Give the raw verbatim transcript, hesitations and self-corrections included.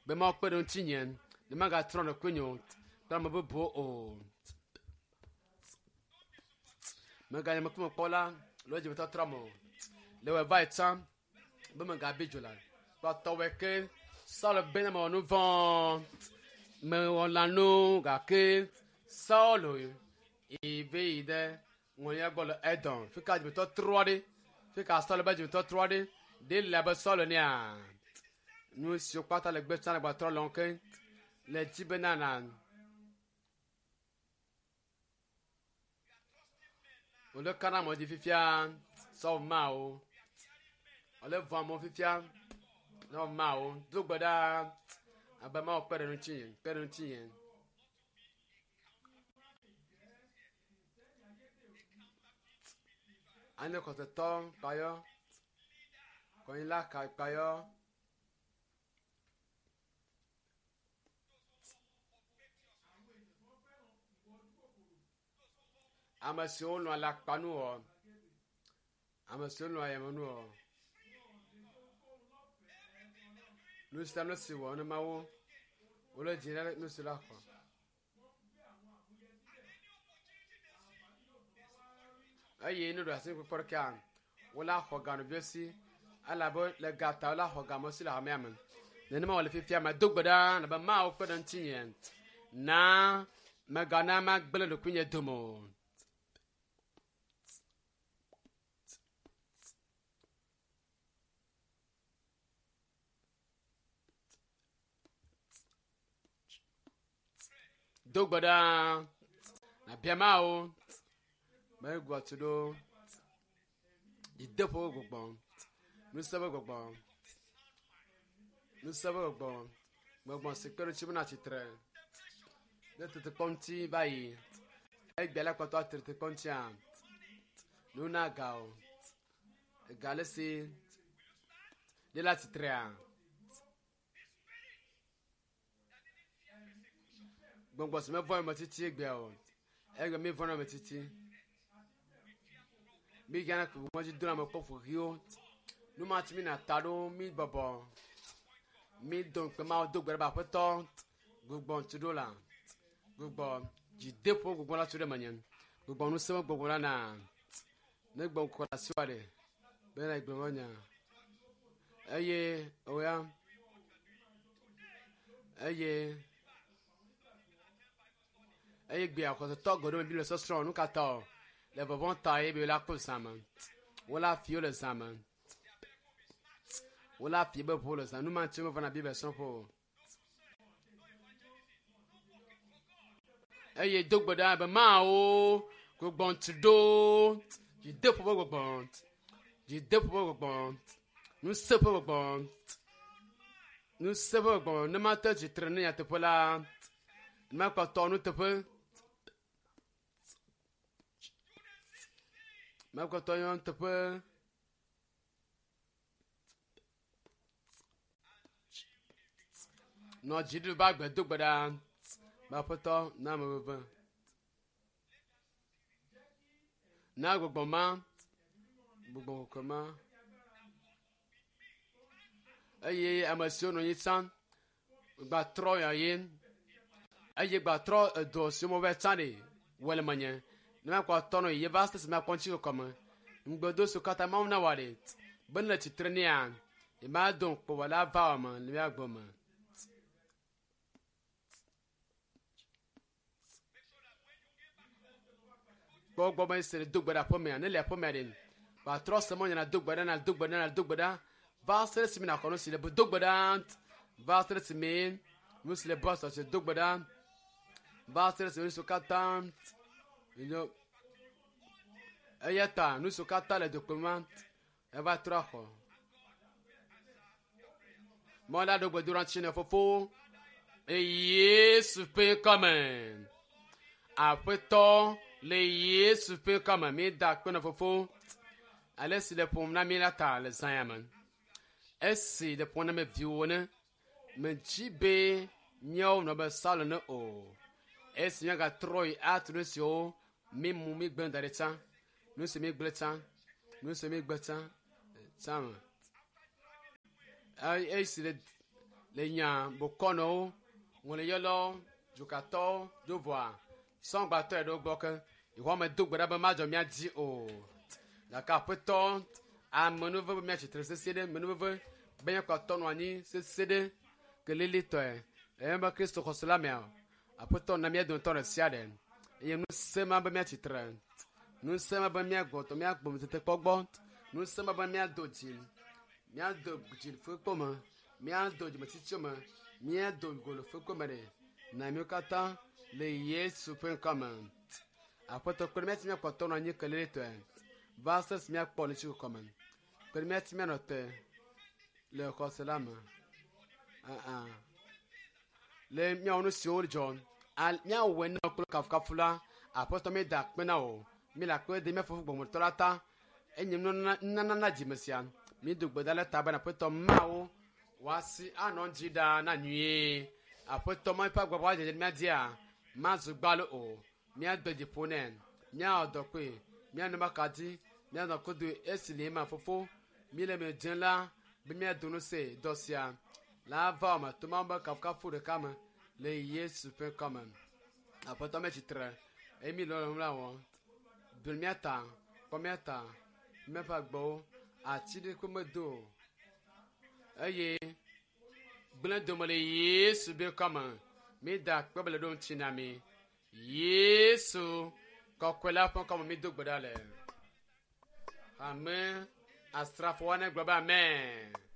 Be Mawu kpe ɖe ŋutinye ne magatrɔ ɖokuinye o kple ame bubuwo o. Meganye ŋkume kpɔla le wo dzimetɔtrɔ me o. Le wɔ va yi tsã be megabi dzo la. Kpɔtɔwoe ke Saul bena mewɔ nu vɔ̃. Mewɔ lãnu gake Saul yi ve yi ɖe ŋɔlia gbɔ le Edom. Fi ka dzimetɔtrɔ ɖe? Fi ka Saul be dzimetɔtrɔ ɖe? Ɖe le abe Saul nea? Nu siwo kpata le gbe tsã le gbatrɔ lɔm ke le dzi bena na wòle ka na amewo dzi fifia Saul mawo. Wòle vɔ̃ amewo fifia Saul mawo. Do gbe ɖa abe Mawu kpe ɖe ŋutinye, kpe ɖe ŋutinye. Anye xɔsetɔ kpayɔ, kɔnyila ka kpayɔ. Ame siwo lɔ̃ alakpanu wɔ, ame siwo lɔ̃ ayamenu wɔ. Nu sia nu si wɔ ne Mawu, wole dzi ɖe nu si la xɔ. Eye ne ɖo asi kpɔkpɔ ɖekea, wola xɔ ganɔviwo si elabe le ga ta wola xɔ game si le hamea me. Nenema wòle fifia me do gbe ɖa be Mawu kpe ɖe ŋutinye na megana magblẽ ɖokuinye dome o. Do gbe ɖa nabia Mawu megblɔ tu ɖo dzideƒo ƒe gbɔgbɔ, ŋusẽ ƒe gbɔgbɔ, ŋusẽ ƒe gbɔgbɔ, gbɔgbɔ si kpe ɖe ŋuti bena tsitre ɖe tetekpɔ ŋuti va yi. Egbea la kpɔtɔ atre tetekpɔ ŋutia, nu na ga o. Ega le si ɖe la tsitrea. Gbɔgbɔ si mevɔ̃ ame titi egbea o. Egbe mi vɔ̃ ame titi. Mi gana kpe ŋɔdzi do ame kpɔ ƒoxiwo. Nu ma tsi mi na ta ɖo mi bɔbɔ. Mi do ŋukpe Mawu do gbe ɖe be aƒetɔ gbugbɔ ŋuti ɖo la. Gbugbɔ dzideƒo gbɔgbɔ la tu ɖe menye. Gbugbɔ ŋusẽ ƒe gbɔgbɔ la na. Ne gbɔ ŋkɔ le asiwò ɖe bena gblɔ be nya. Eye oya. Eye eye gbea xɔsetɔ geɖewo me Biblia sɔsrɔ̃ nu ka ta o. Le vɔvɔ̃ ta ye be wola kpɔ zã me. Wola fi wo le zã me. Wola fi be ʋu le zã. Nu ma ŋuti womevana Biblia srɔ̃ƒe o. Eye do gbe ɖa be Mawu gbɔgbɔ ŋuti ɖo dzideƒo ƒe gbɔgbɔ, dzideƒo ƒe gbɔgbɔ, ŋusẽ ƒe gbɔgbɔ, ŋusẽ ƒe gbɔgbɔ ne mate tsitre ne nyateƒe la, ne makpɔtɔ nuteƒe. Makpɔtɔ nuteƒe. Nɔ dziɖuɖu ƒe agbe do gbe ɖa be aƒetɔ na ame veve. Na gbɔgbɔ ma, gbɔgbɔ kɔkɔe ma. Eye ame siwo nɔ anyi tsã gbatrɔ ya ye eye gbatrɔ edɔ siwo me va tsã ɖe wɔ le menye ne makpɔ tɔ nɔ ye va se si makpɔ ŋuti kɔkɔ me. Ŋugbedo siwo katã Mawu na wɔ ɖe be ne le tsitre nea, ye ma do ŋukpe wɔ la va wɔ me le mía gbɔ me. Kpɔ gbɔ be se le do gbe ɖe aƒemea, ne le aƒemea ɖe, gbatrɔ se mɔ nyana do gbe ɖa na do gbe ɖa na do gbe ɖa va se ɖe esime nàxɔ nu si le do gbe ɖa va se ɖe esime nu si le bɔ sɔ do gbe ɖa va se ɖe esime nu siwo katã nyo eya ta nu siwo katã le dokpe ma eva trɔ axɔ. Mɔ la ɖo gbedoɖa ŋuti na fofo le Yesu ƒe ŋkɔme. Aƒetɔ le Yesu ƒe ŋkɔme mi da akpe na fofo ale si le ƒom na mi la ta le zã ya me. Esi le ƒom na mi viwo ne medzi be míawo nɔ be Saul ne o. Esi míagatrɔ yi atu nu siwo mi mu mi gblẽ da ɖi tsã, nu si mi gblẽ tsã, nu si mi gbe tsã, tsã me. Esi le Le nya bokɔnɔwo, ŋɔliyɔlawo, dzokatɔwo, dzovoa, sɔŋgbatɔ ɖewo gbɔ ke yehowa medo gbe ɖa be madzɔ mía dzi o. Gake aƒetɔ amenuveve be míatsitre sesĩe ɖe amenuveve be míakpɔtɔ nɔ anyi sesĩe ɖe kelilitɔe le míaƒe Kristo xɔse la mea aƒetɔ na mía dometɔ ɖe sia ɖe eye ŋusẽ ma be míatsitre ŋusẽ ma be míagbɔtɔ míagbɔ tetekpɔ gbɔ ŋusẽ ma be míado dzi míado dzi fukpekpe me míado dzimetsitsi me míado go le fukpekpe me ɖe na míwo katã le Yesu ƒe ŋkɔ me. Aƒetɔ kpe ɖe mía ŋuti míakpɔtɔ nɔ anyi kelilitɔe va se esi míakpɔ le ŋutikɔkɔ me. Kpe ɖe mía ŋuti míanɔ te le xɔse la me. Aa le míawo nu siwo dzɔ al míawɔe na kple kafukafu la aƒetɔ míeda akpe na wò míle akpe dem mía fofo gbɔgbɔmetɔ la ta enye nunana nunana na dzime sia mído gbe ɖa le ta bena aƒetɔ mawo wòasi anɔ dzi ɖaa na nyuie aƒetɔ ma ƒe agbagba dzedze mía dzia mazu gbalo o míade dzi ƒo nɛ míawɔ dɔ kpee míanɔ maka dzi míanɔ kodoe esi le ema fofo míle me dze la be míado ŋusẽ dɔ sia la va wɔme to mawu be kafukafu ɖeka me le Yesu ƒe ŋkɔ me. Aƒetɔ metsitre eye mi lɔlɔ̃nu la wɔm. Do mía ta, kpɔ mía ta, míaƒe agbewo ati ɖeke medo o eye gblẽ dome le Yesu ƒe ŋkɔ me. Mída akpe be le ɖo ŋuti na mi. Yesu kɔkɔe la ƒe ŋkɔ me mído gbe ɖa le. Ame asrafowo ne gblɔ be amen.